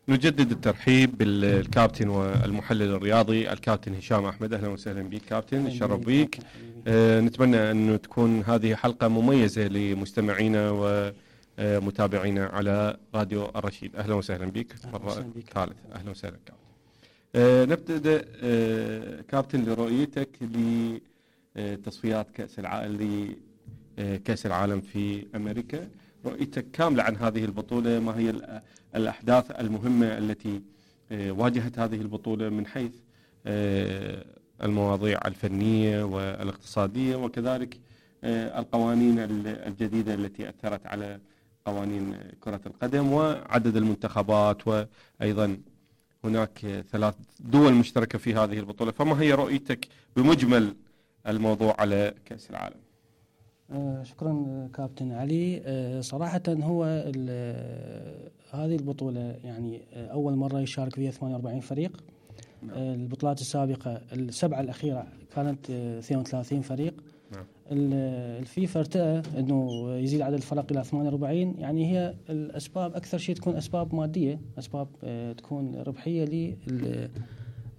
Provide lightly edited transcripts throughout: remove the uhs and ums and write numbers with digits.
نجدد الترحيب بالكابتن والمحلل الرياضي الكابتن هشام أحمد. أهلا وسهلا بك كابتن، الشرف بك. نتمنى أن تكون هذه حلقة مميزة لمستمعينا ومتابعينا على راديو الرشيد. أهلا وسهلا بك مرة ثالثة. أهلا وسهلا كابتن. نبدأ كابتن لرؤيتك لتصفيات كأس العالم في أمريكا، رؤيتك كاملة عن هذه البطولة. ما هي الأحداث المهمة التي واجهت هذه البطولة من حيث المواضيع الفنية والاقتصادية، وكذلك القوانين الجديدة التي أثرت على قوانين كرة القدم وعدد المنتخبات، وأيضا هناك 3 دول مشتركة في هذه البطولة. فما هي رؤيتك بمجمل الموضوع على كأس العالم؟ شكرا كابتن علي. صراحة هو هذه البطولة يعني أول مرة يشارك فيها 48 فريق. البطولات السابقة السبعة الأخيرة كانت 32 فريق. الفيفا ارتأى أنه يزيد عدد الفرق إلى 48. يعني هي الأسباب أكثر شيء تكون أسباب مادية، أسباب تكون ربحية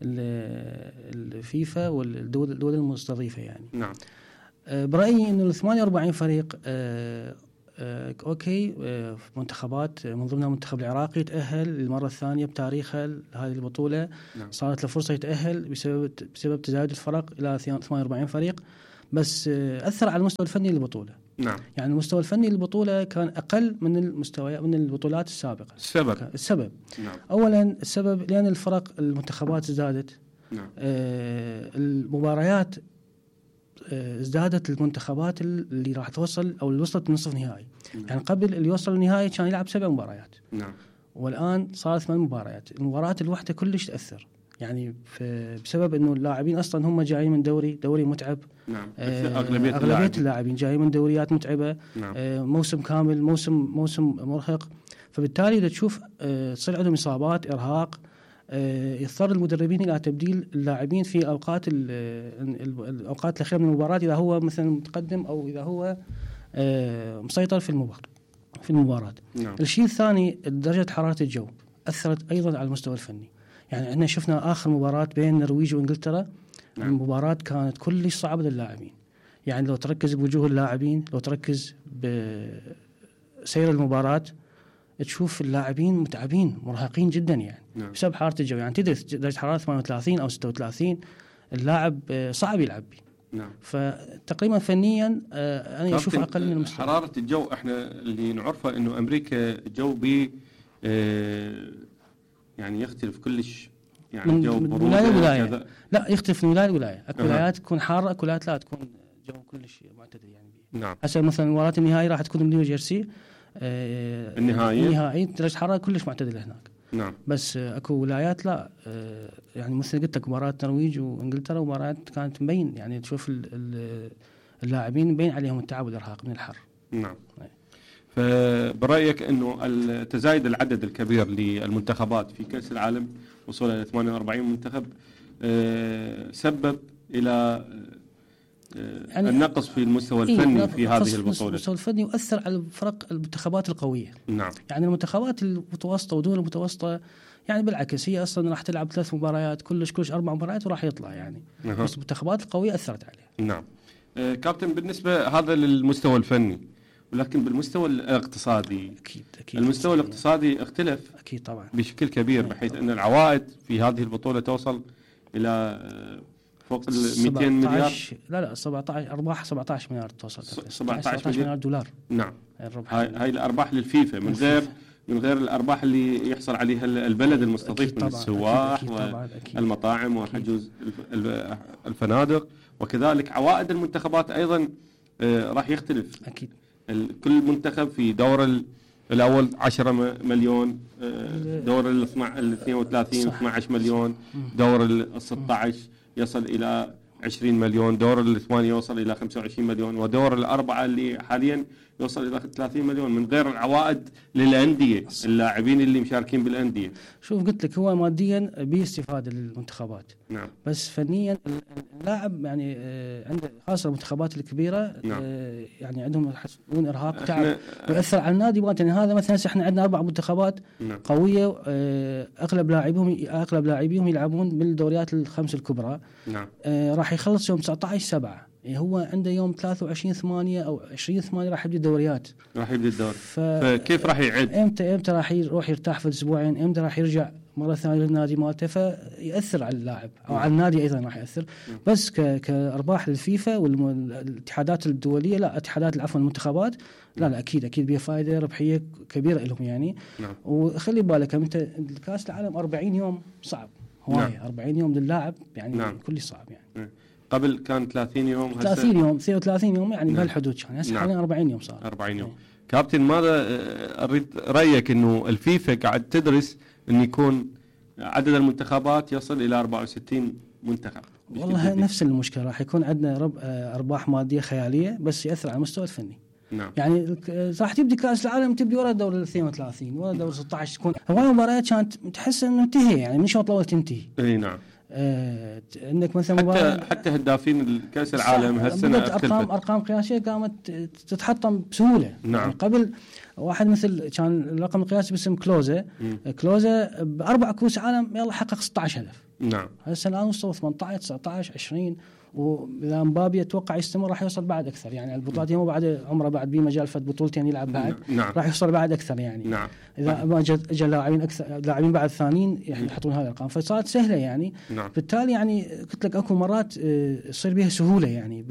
للفيفا والدول المستضيفة يعني. نعم. برأيي أنه 48 فريق أوكي. منتخبات من ضمنها المنتخب العراقي تأهل للمرة الثانية بتاريخه هذه البطولة. نعم. صارت له فرصة يتأهل بسبب تزايد الفرق إلى 48 فريق، بس أثر على المستوى الفني للبطولة. نعم. يعني المستوى الفني للبطولة كان أقل من البطولات السابقة. السبب نعم. أولا السبب لأن الفرق المنتخبات ازدادت. نعم. المباريات ازدادت المنتخبات اللي راح توصل أو اللي وصلت نصف نهائي. يعني قبل اللي يوصل النهائي كان يلعب 7 مباريات. نعم. والآن صارت 8 مباريات. المباراة الواحدة كلش تأثر، يعني بسبب إنه اللاعبين أصلاً هم جايين من دوري متعب. نعم. أغلبية اللاعبين جايين من دوريات متعبة. نعم. موسم كامل، موسم مرهق، فبالتالي إذا تشوف تصير عندهم إصابات، إرهاق. يضطر المدربين إلى تبديل اللاعبين في الأوقات الأخيرة من المباراة، إذا هو مثلا متقدم أو إذا هو مسيطر في المباراة. نعم. الشيء الثاني درجة حرارة الجو أثرت أيضا على المستوى الفني. يعني احنا شفنا آخر مباراة بين النرويج وإنجلترا. نعم. المباراة كانت كلش صعبة للاعبين. يعني لو تركز بوجوه اللاعبين، لو تركز بسير المباراة، تشوف اللاعبين متعبين مرهقين جدا يعني. نعم. بسبب حرارة الجو. يعني تدري درجة حرارة 38 أو 36 اللاعب صعب يلعب بيه. نعم. فتقريبا فنيا أنا أشوف أقل من المستوى. حرارة الجو احنا اللي نعرفه إنه أمريكا الجو يعني يختلف كلش، يعني من جو ولاية. لا، يختلف من ولاية لولاية. أكو ولايات تكون حارة، أكو ولايات لا تكون جو كلش معتدل يعني بيه. نعم. هسه مثلا مباراة النهائي راح تكون بنيو جيرسي. النهائي درجة حرارة كلش معتدلة هناك. نعم. بس اكو ولايات لا. يعني مثل قلت لك مباراة النرويج وانجلترا مباريات كانت مبين، يعني تشوف اللاعبين مبين عليهم التعب والارهاق من الحر. نعم. فبرأيك انه تزايد العدد الكبير للمنتخبات في كأس العالم وصوله الى 48 منتخب سبب الى يعني النقص في المستوى الفني في هذه البطولة. المستوى الفني يؤثر على المنتخبات القوية. نعم. يعني المنتخبات المتوسطة ودول المتوسطة يعني بالعكس هي أصلا راح تلعب 3 مباريات كلش 4 مباريات وراح يطلع يعني. بس المنتخبات القوية أثرت عليه. نعم. كابتن، بالنسبة هذا للمستوى الفني، ولكن بالمستوى الاقتصادي أكيد المستوى الاقتصادي اختلف أكيد طبعا بشكل كبير، بحيث أن العوائد في هذه البطولة توصل إلى فوق 200 مليار. لا 17 أرباح 17 مليار توصل. 17 مليار دولار. نعم. هاي الأرباح للفيفا من غير الأرباح اللي يحصل عليها البلد المستضيف من السواح والمطاعم وحجوز الفنادق، وكذلك عوائد المنتخبات أيضا راح يختلف. أكيد. كل منتخب في دور الأول 10 مليون، دور ال 32 12 مليون، دور ال 16 يصل إلى 20 مليون، دور الثمانية يوصل إلى 25 مليون، ودور الأربعة اللي حاليا يوصل إلى 30 مليون، من غير العوائد للأندية، اللاعبين اللي مشاركين بالأندية. شوف قلت لك هو ماديا باستفادة للمنتخبات، نعم. بس فنيا اللاعب يعني عنده خاصة المنتخبات الكبيرة، نعم. يعني عندهم يحسون إرهاق وتعب ويأثر على النادي. يعني هذا مثلا احنا عندنا 4 منتخبات نعم. قوية، أغلب لاعبيهم يلعبون بالدوريات الخمس الكبرى. نعم. راح يخلص يوم 19/7، يعني هو عنده يوم 23/8 أو 20/8 راح يبدأ الدوريات، راح يبدأ الدور. فكيف راح يعد؟ امتى راح يروح يرتاح في الأسبوعين، امتى راح يرجع مرة ثانية للنادي مالته، فيأثر على اللاعب أو على النادي أيضا راح يأثر. بس كأرباح للفيفا والاتحادات الدولية، لا اتحادات عفوا المنتخبات، لا أكيد بيها فائدة ربحية كبيرة لهم يعني. نعم. وخلي بالك أنت الكأس العالم 40 يوم صعب هواية. نعم. 40 يوم للاعب يعني. نعم. كل صعب يعني. نعم. قبل كان 30 يوم، 30 يوم 33 يوم يعني. نعم. بهالحدود كان هسه. نعم. حاليا 40 يوم صار. 40 يوم. كابتن ماذا أريد رأيك إنه الفيفا قاعد تدرس إن يكون عدد المنتخبات يصل إلى 64 منتخب؟ والله نفس المشكلة، راح يكون عندنا أرباح مادية خيالية، بس يأثر على المستوى الفني. نعم. يعني راح تبدي كأس العالم تبدي ورا الدور 32 ورا الدور 16، تكون هواي مباريات كانت تحس إنه انتهي يعني من شوط الأول تنتهي. إيه نعم. انك مثلا حتى هدافين الكأس العالم هالسنة ارقام قياسيه قامت تتحطم بسهوله. نعم. يعني قبل واحد مثل كان الرقم القياسي باسم كلوزا ب4 كؤوس عالم يلا حقق 16 هدف. نعم. هسه الان وصل 18 19 20، واذا مبابي اتوقع يستمر راح يوصل بعد اكثر يعني. البطولات مو بعد عمره بعد بمجال فد بطولتين يلعب بعد. نعم. راح يوصل بعد اكثر يعني. نعم. اذا ما اجى لاعبين اكثر، لاعبين بعد ثانيين يحطون هذه الارقام، فصارت سهله يعني. نعم. بالتالي يعني قلت لك اكو مرات يصير بها سهوله يعني